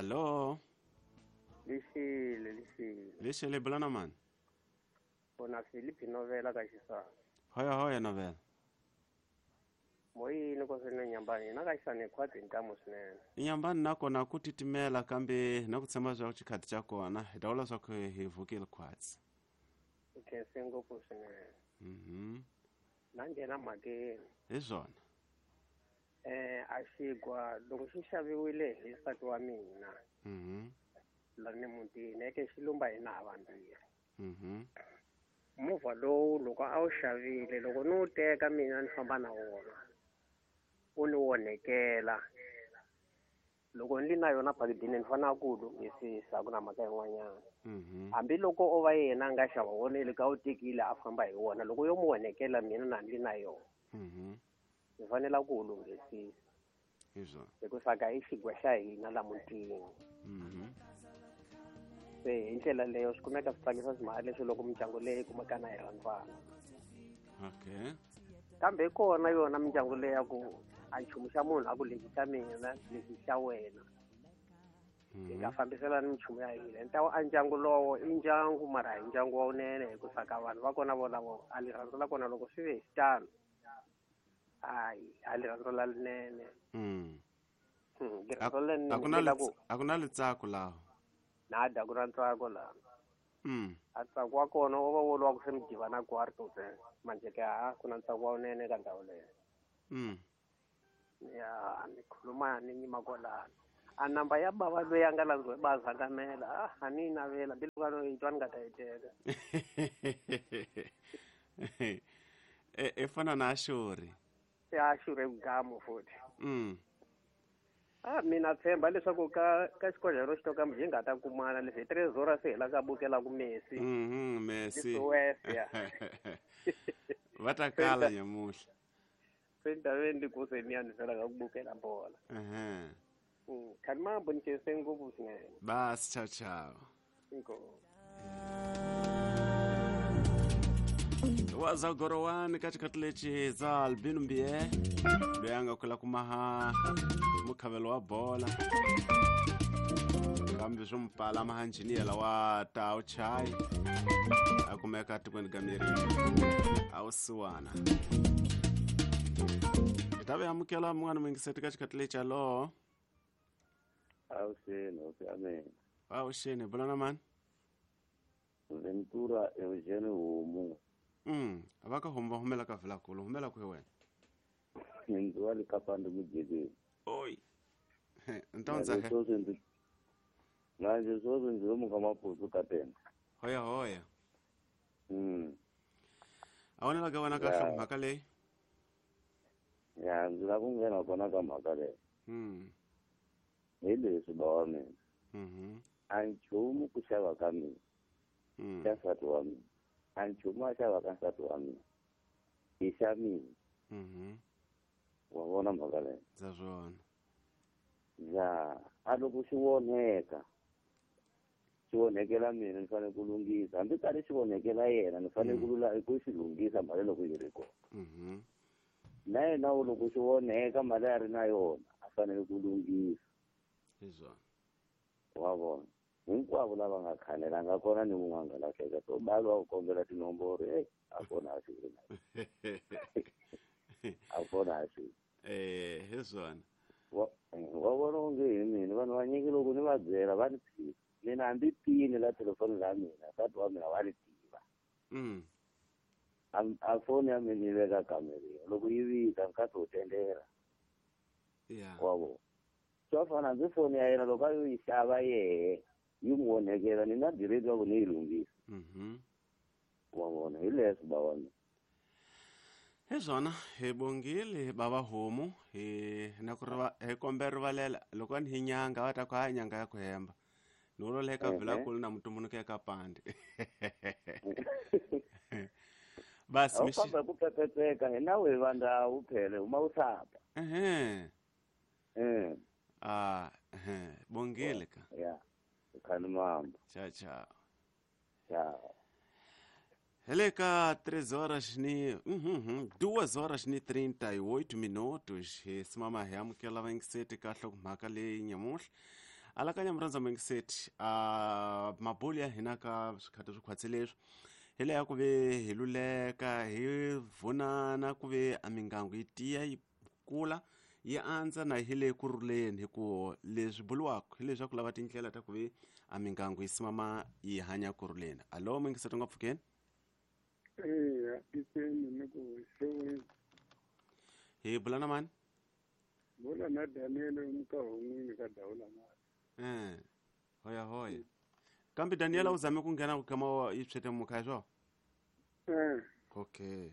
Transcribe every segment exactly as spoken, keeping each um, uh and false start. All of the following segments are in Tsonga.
Allo. Lixile, lixile. Lixile bulana mani? Kona Philip Novela ka Xisana. Hoya hoya Novela. Moyini ko swinene nyambani na ka Xisana khwati ntamu swinene. Nyambani nakona ku titimela kambe na ku tshemba swa ku xikhathi xa kona hi ta vula swa ku hi vukile khwatsi. U khense ngopfu swinene. Mhm. Na nghena mhakeni. Hi swona. Eh a xigwa loko xi xaviwile hi nsati wa mina. Mhm. La ni mutini eke xilumba hina ha vambirhi. Mhm. Movha lowu loko a wu xavile loko ni wu teka mina ni famba na wona u ni onhekela loko ni na yona phakidini ni fanele ku wu lunghisisa ku na mhaka yin'wanyana. Mhm. Hambiloko o va yena a nga xava wona le ka wu tekile a famba hi wona loko yo mu onhekela mina na ni na yona. Mhm. Ni fanele ku wu lunghisisa. Hi swona. Hikuva ka i xigwa xa hina la mutini. Mhm. Se hi ndlela leyo swi kumeka swi tsakisa timhaka leswi loko mindyangu leyi kumeka na yi rhandzana. Okay. Kambe hi kona yona mindyangu leyi ya ku a nchumu xa munhu a ku lexi xa mina lexi xa wena. Hi nga fambiselani minchumu ya hina. Ni ta a ndyangu lowo i ndyangu mara hi ndyangu wa wunene hikuva ka vanhu va kona volavo a rirhandzu la kona loko swi ve hi xitalo hayi a rirhandzu la linene. Mm. Rirhandzu la A ku na linene ku a ku na litsako laho. Nada ku na ntsako laha. Mm. A ntsako wa kona wo va wo lwa ku se mi divana kwarto ntsena manje ke ha ku na ntsako wa wunene ka ndhawu leyo. Mm. Ya ni khuluma ni nyima kwalano. A namba ya bava loyi a nga landziwa hi bazakamela ah a ni yi navela mbilu ka no yi twa ni nga ta yi teka. E e fana na Ashuri. Ya Ashuri gamu futhi. Mm. Ah mina tshemba leswaku ka ka xikodlhelo xo ka hi nga ta kumana leswi hi Trezora se hi la ka bukela ku Messi. Mhm Messi. Ya. Va ta kala nyamuhla. Se ndaveni ku se ni ya ni fela ka ku bukela bola. Mhm. Mm khalma bonkese ngopfu swinene. Bas ciao ciao. Inkomu. Waza gorowani ka xikhathi lexi za Albino Mbie loyi a nga kula kumaha mukhavelo wa bola kambe swo mpala mahanjiniyela wa Tau Chai a kumeka tikweni ka miri a wusiwana hi ta ve amukela mun'wana muyingiseti ka xikhathi lexi alo. Avuxeni hosi ya mina. Avuxeni bulana mani? Ventura Eugene Homu. Mm, va ka homu va humela ka Vilakulu, humela kwihi wena? Ndzi wa le Kapande Mudyeleni. Oi. Ntonza he. Manje sweswi ndzi lomu ka Maputo ka tena. Hoya hoya. Mm. A wona ka wena kahle mhaka leyi? Ya, ndzi lava ku nghena kona ka mhaka leyi. Mm. Hi leswi ba wa mina. Mhm. A nchumu ku xava ka mina. Mm. Xa nsati wa mina. A nchumu a xava ka nsati wa mina. I xa mina. Mhm. Wa vona mhaka leyi? Ndza swona. Ya, a loko xi onheka xi onhekela mina ni fanele ku lunghisa hambi karhi xi onhekela yena ni fanele ku lula ku xi lunghisa mali loko yi ri kona. Mhm. Na yena u loko xi onheka mali a ri na yona a fanele ku lunghisa. Hi swona. Wa vona hinkwavo lava nga khanela nga kona ni wun'we a nga lahleka so balo wa ku kombela tinomboro e a kona a xi a kona a xi eh hi swona. Wa wa vona onge hi mina vanhu vanyingi loko ni va byela va ni phika mina hambi pini la telefoni la mina nsati wa mina wa ni tiva. Mm. A foni ya mina yi veka kamereni loko yi vita nkarhi wo tendela. Yeah. Wa vona swa fana hambi foni ya yena loko a yo yi xava yehe yi n'wi onhekela ni na direct wa ku ni yi lunghisa. Mhm. Wa vona hi leswi ba wa mina. Hi swona hi bongile bava homu hi na ku riva hi kombe rivalela loko ni hi nyanga va ta ku ha nyanga ya ku hemba ni vulavula eka Vilakulu na mutumbuluki eka Pande. Basi mi famba ku pepetseka hi nawu hi vandawu phele huma u sapa. Ehe. Eh. Ah, ehe, bongile ka. Ya. Khani mambo. Ciao ciao. Ciao. Hele ka três horas ni uhum, duas horas ni trinta e oito minutos. Hi simama hi amukela vayingiseti ka nhlokomhaka leyi nyamuhla. Alakanya murhandza mingiseti a mabulu ya hina ka swikhati swi khwatsi leswi hi leya ku ve hi luleka hi vunana ku ve a mingangu yi tiya yi kula yi andza na hi le ku rhuleni hi ku leswi buriwaka hi leswaku lava tindlela ta ku ve a mingangu yi simama yi hanya ku rhuleni. Alo mingiseti nga pfukeni? Eya, tikweni ni ku xeweni. Hi bula na mani? Bula na Daniel Mukahon'wini ka Dawula mali. Eh, hoya hoya. Kambe Daniela u zame ku nghena ku kama yi tshwete mukha swo? Eh. Okay.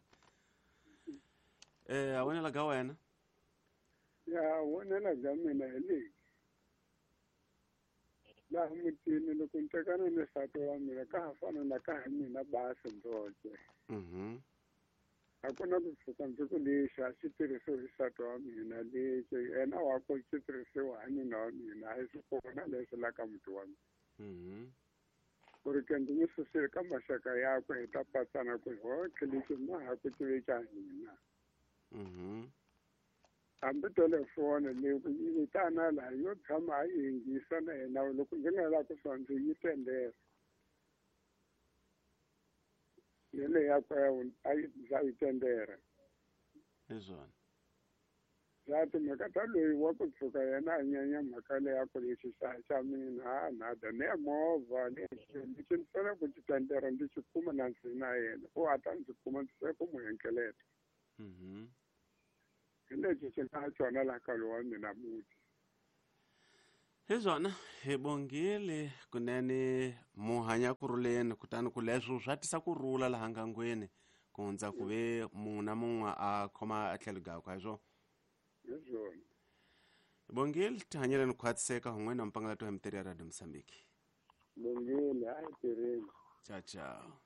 Eh, a wena ga wena? Ya, wena ga mina hi leyi. Laha mutini loko ni tekana ni nsati wa mina ka ha fana na ka ha mina basi ndzoxe. Mhm. A ku na ku tshuka ndzi ku lexi a xi tirhisiwe hi nsati wa mina lexi yena wa ku xi tirhisiwa hi nuna wa mina a hi swi kona leswi la ka muti wa mina. Mhm. Ku ri ke ndzi n'wi susile ka maxaka yakwe hi ta patsana ku hotlhe lexi ma ha ku tive xa hina. Mhm. Hambi telefoni leyi ku yi vitana laha yo tshama a yi yingisa na yena loko ndzi nga lavi ku swa ndzi yi tendela. Yele yakwe a yi ndza yi tendera. Hi swona. Ya timhaka ta loyi wa ku tshuka yena a nyanya mhaka leyi ya ku lexi xa xa mina a nada ne movha lexi lexi ni fanele ku xi tendera ndzi xi kuma na ndzi na yena u a ta ndzi kuma ndzi se ku n'wi henkeleta. Mhm. Hi lexi xi nga xona laha ka lowa mina muti. Hi swona hi bongile kunene muhanya ku rhuleni kutani ku leswo swa tisa ku rhula laha ngangweni ku hundza ku ve munhu na mun'we a khoma a tlhelo gakwe hi swona. Hi swona. Bongile tihanyeleni ku khwatiseka hun'we na mpangalato ya mitirhi ya Radio Mozambique. Bongile a hi tirheni. Ciao ciao.